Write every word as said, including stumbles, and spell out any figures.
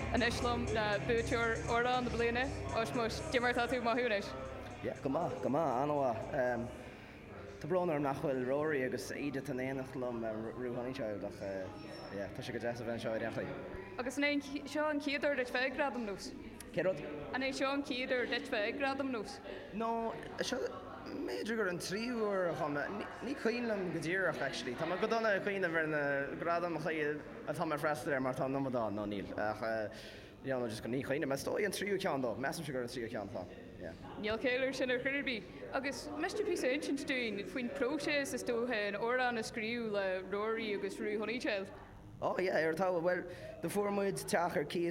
Anois liom ná buaiteoir amhrán na bliana Oismos Dimar tá tú maithúnis. Yeah, go maith go maith an-mhaith. Tá brón orm nach bhfuil Rory agus Edith in éineacht liom Rue Honeychild ach tá sé go deas a bheith anseo ar Agus an é seo an chéad uair duit bheith ag Gradam Nós. Cé rud? An é seo an chéad uair duit bheith ag Gradam Nós? No seo b'fhéidir gur an tríú huair chum ní cuimhin liom go díreach actually. Tá go dona ag cuimhneamh ar na gradaim atá mé freastal air mar tá an dá nó níl ach you just go ní chuimhním is dóigh an tríú ceann dó, measaim gur an tríú ceann tá. Níl céir sin ar chuirbí. Agus miste pí insint dúinn faoin próiseas is dócha an amhrán a scríobh le Rory agus Rue Honeychild. Oh yeah, ar tá well do fuair muid teach ar cíos